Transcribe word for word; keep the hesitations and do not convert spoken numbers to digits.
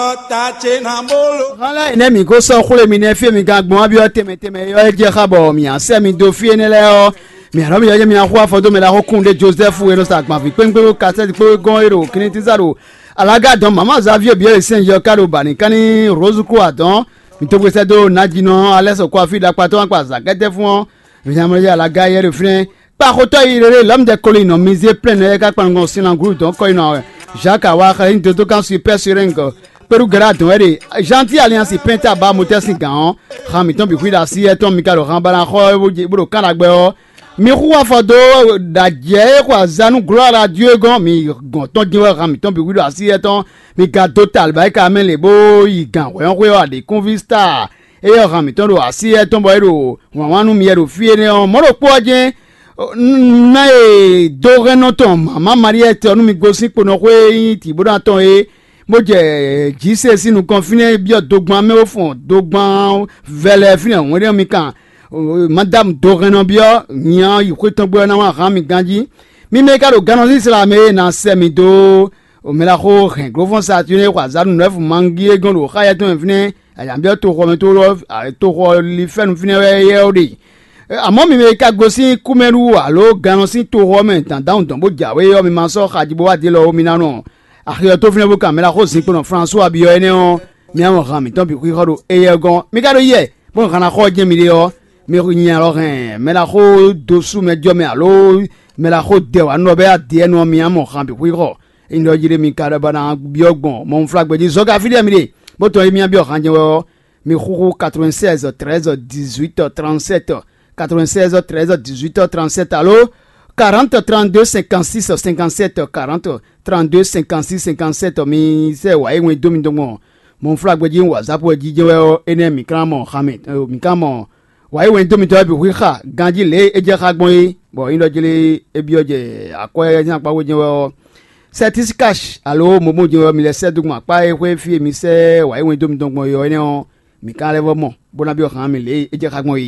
Hɔn lɛ́ɛ nɛ́ mǐ ko sɔ́ xwlé mi nɛ́ fí e mi gán gbɔn byɔ́ tɛnmɛ tɛnmɛ é ɔ́, é jɛ xá bɔ mǐ á sɛ́ mi dó fí énɛ́ lɛ́ɛ ɔ́, mǐ á nɔ byɔ́ mi axú afɔ dó mɛ ɖaxó kún ɖé Jozɛ́fu e nɔ sa agbanví kpéŋkpéŋ kpó kasɛ́ti kpó gɔ́n é ɖo Klítíza ɖo alaga dɔn mama Zavíe byɔ́ e sɛ́n yɔ ká ɖo bǎ ní ká ní Rózu kó adɔn. Mǐ tógbé sɛ́ dó Najínɔ Alɛ́sɔ kó afí ɖakpatɔ́ kpa azǎkɛ́tɛ́ fún ɔ́, Vǐnyamalɔyɛ alaga yɛ ɖo fínɛ́. Kpa xotɔ́ yi rere lɔ̌mdɛ kolin nɔ mizé plɛ́n nɔ yɛ ká kpan nukɔn sín langúlu dɔn kɔ́ yi nɔ wɛ. Jacques awa xlɛ́ ní dodókan super surenk kpéɖú gɛ́ɖá dɔn wɛ ɖe. Janti aliansi pɛnta ba motɛ́ sín gǎn ɔ́, han mǐtɔn bǐ xwí ɖo así yɛ tɔn mi ka ɖo han ba ná xɔ bó ɖo kán ɖagbɛ ɔ́, mi xú afɔ dó ɖo ajɛ e xo aza nú glɔ́ radio e gɔ́n mi gɔn tɔn jɛ́n wɛ han mǐtɔn bǐ xwí ɖo así yɛ tɔn. Mi ga dó talibáyika mɛ lě bó yi gǎn hwɛ́nxwé ɔ́ aɖǐkúnví star. Éyɛ́ han mǐtɔn ɖo así étɔn bɔ é ɖo wǎnwán nú mi wɛ ɖo fí énɛ́ ɔ́, mɔ̌ ɖokpó ɔ́ jɛ́n ná e dó hɛn nɔ tɔn mama Maliyɛ́ tɛ ɔ́ nú mi gosín kponɔxwé e nyí Tibóna tɔn é, bó jɛ jǐ se sín nukɔn fínɛ́ byɔ́ dogban mɛ bó fɔn dogban vɛlɛ fínɛ́ hwɛ́nɖɛ́ mi kan. Madámu dohɛnnɔ byɔ́ nya yi xwé tɔn gbé ɔ́ ná wá hán mi ganjí. Mi mɛ e ka ɖo gannɔzín sla mɛ e ná sɛ mi dó mɛ ɖaxó hɛn glófɔ́n Saturnín e xɔ azǎn nǔnɔ́ɛfu Mangi e gɔ́n ɖo xá yɛtɔn mɛ fínɛ́, ayǎbyɔ́ toxɔ mɛ toxɔ lifɛ́nu fínɛ́ wɛ yɛ ɔ́ ɖe. Amɔ̌ mi mɛ e ka gosín kú mɛ ɖu alo gannɔ sín toxɔ ɔ́ mɛ dǎndánwun dɔn bó jǎwe ɔ́, mi ma sɔ́ xaji bó wá dě lɔ ó, mi ná nɔ axi ɔ́ tó fínɛ́ bó kan mɛ ɖaxó zinkpo nɔ Flánsu Abiyɔ énɛ́ ɔ́, mi ná mɔ han mǐtɔn bǐ xwixɔ ɖo éyɛ́ gɔ́n. Mi ka ɖó yɛ bó han ná xɔ jɛ́n miɖée ɔ́, mi nya lɔ hɛn mɛ ɖaxó dó sú mɛ jɔ mɛ alo mɛ ɖaxó dɛ wǎ nɔ bɛ adě ɛnɛ ɔ́, mi ná mɔ han bǐ xwixɔ. Ényí ɖɔ jí ɖé mi ka ɖɔ bɔ ná byɔ́ gbɔn mɔnflágbɛ́ jí zɔ́gá fí ɖé mi ɖe, bó tɔn yi mì byɔ́ han jɛ́n wɛ ɔ́, mi xúxú quatre-vingt-seize treize dix-huit trente-sept, quatre-vingt-seize treize dix-huit trente-sept alo quarante trente-deux cinquante-six cinquante-sept, quarante trente-deux cinquante-six cinquante-sept. Mi sɛ wǎ yi wɛn dó mi dɔn gbɔn mɔnflágbɛ́ jí wǎzápú ɛ jí jɛ́n wɛ ɔ́, énɛ́ mǐ ka ná mɔ han mɛ, mǐ ka ná mɔ wǎ yi wɛn dó mitɔn wɛ bǐ xwíxa ganjí lě e é jɛ xá gbɔn é, bɔ nyí ɖɔ jlé é byɔ́ jɛ akwɛ́ sín akpá wé jɛ́n wɛ ɔ́, sɛtísíkash alo momo jɛ́n wɛ mi lɛ́ sɛ́ dó gbɔn akpá e xwé fí e mi sɛ́ wǎ yi wɛn dó mitɔn gbɔn é ɔ́ énɛ́ ɔ́, mǐ ka lɛ́ vɔ́ mɔ, bó ná byɔ́ han mì lě e é jɛ xá gbɔn é.